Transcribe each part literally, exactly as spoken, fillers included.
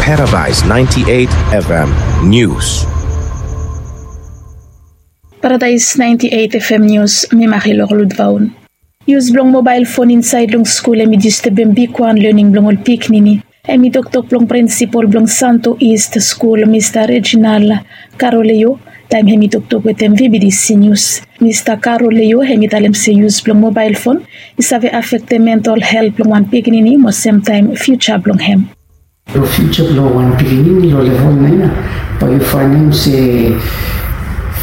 Paradise ninety-eight F M News. Paradise ninety-eight F M News, mi Marilor Ludvaun. Yus blong mobael fon insaed long skul hemi distebem bigwan lening blong ol pikinini. Hemi toktok blong prinsipol blong Santo East Skul, Mista Reginald Karoleo, taem hemi toktok wetem V B D C News. Mista Karoleo hemi talem se yus blong mobael fon i save afektem mental helt blong wan pikinini mo semtaem fiuja blong hem. Long fiuja blong wan pikinini long level naen ia, bae yu faenem se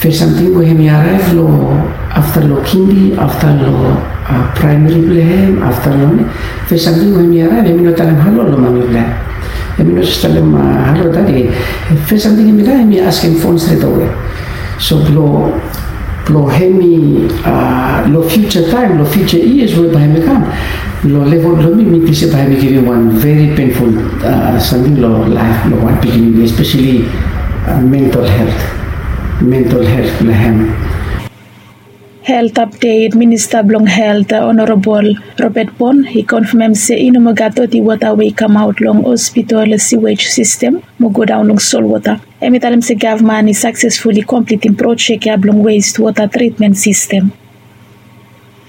fes samting we hemi araev long afta long kindi, afta long praemari blong hem, afta long ne, fes samting we hemi araev, hemi no talem halo long mami blong hem. Hemi no jes talem halo dadi. Fes samting hemi dai, hemi askem fon stretawe. So blong blong hemi long fiuja taem, long fiuja yias we bae hemi kam, long level blong mi, mi ting se bae hemi givim wan veri penful samting long laef blong wan pikinini, espeseli mental helt, mental helt blong hem. Helt apdet, Minista blong Helt, Honorabol Robert Bon, i konfamem se i no moa gat doti wota we i kamaot long hospital siwej sistem mo godaon long solwota. Hemi talem se gavman i saksesfuli komplitim projek ia blong west wota tritmen sistem.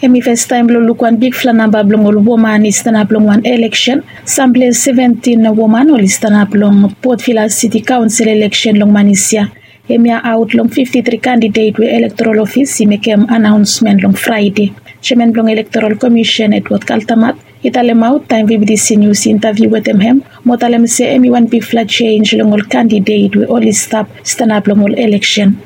Hemi festaem blong luk wan bigfala namba blong ol woman i stanap long wan eleksen. Samples seventin woman oli stanap long Port Vila Siti Kaonsel eleksen long manis ia. Hemia aot long fifti tri kandidet we elektorol ofis i mekem anaonsmen long Fraede. Jeaman blong Elektorol Komisen, Edward Kaltamat, i talemaot taem V B D C News i intaviu wetem hem mo talem se hemi wan bigfala jenj long ol kandidet we oli stap stanap long ol eleksen.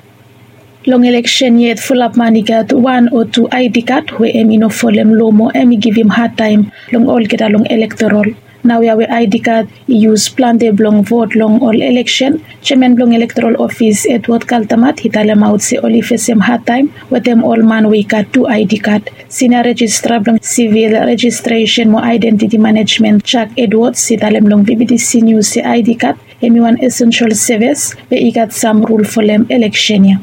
Long eleksen yet fulap man i gat wan o tu ID kad we hemi no folem loa mo hemi givim hadtaem long olgeta long elektorol. Naoia we ID kad i yus plante blong vot long ol eleksen, jeaman blong Elektorol Ofis Edward Kaltamat i talemaot se oli fesem hadtaem wetem ol man we i gat tu ID kad. Sinia Rejistra blong Sivil Rejistresen mo Aedentiti Manejmen, Jack Edwards, i talem long V B D C News se ID kad hemi wan esensel sevis we i gat sam rul folem eleksen ia.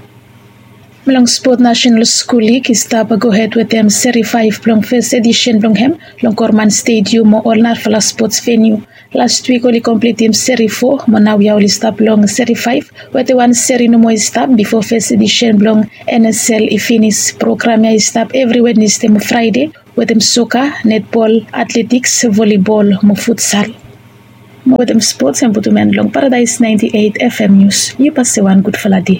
Blong spot, Nasenal Skul Lig i stap gohed wetem seri faef blong fes edisen blong hem long Korman Stedium mo ol narafala spots veniu. Lastwik oli komplitim seri fo mo naoia oli stap long seri faef wetem wan seri nomo i stap bifo fes edisen blong N S L i finis. Program ia i stap evri Wednesde mo Fraede wetem soka, netbol, atletiks, volibol mo futsal. Mo wetem spots, hem putum en long Paradise ninety-eight F M News. Yu pasa wan gudfala dei.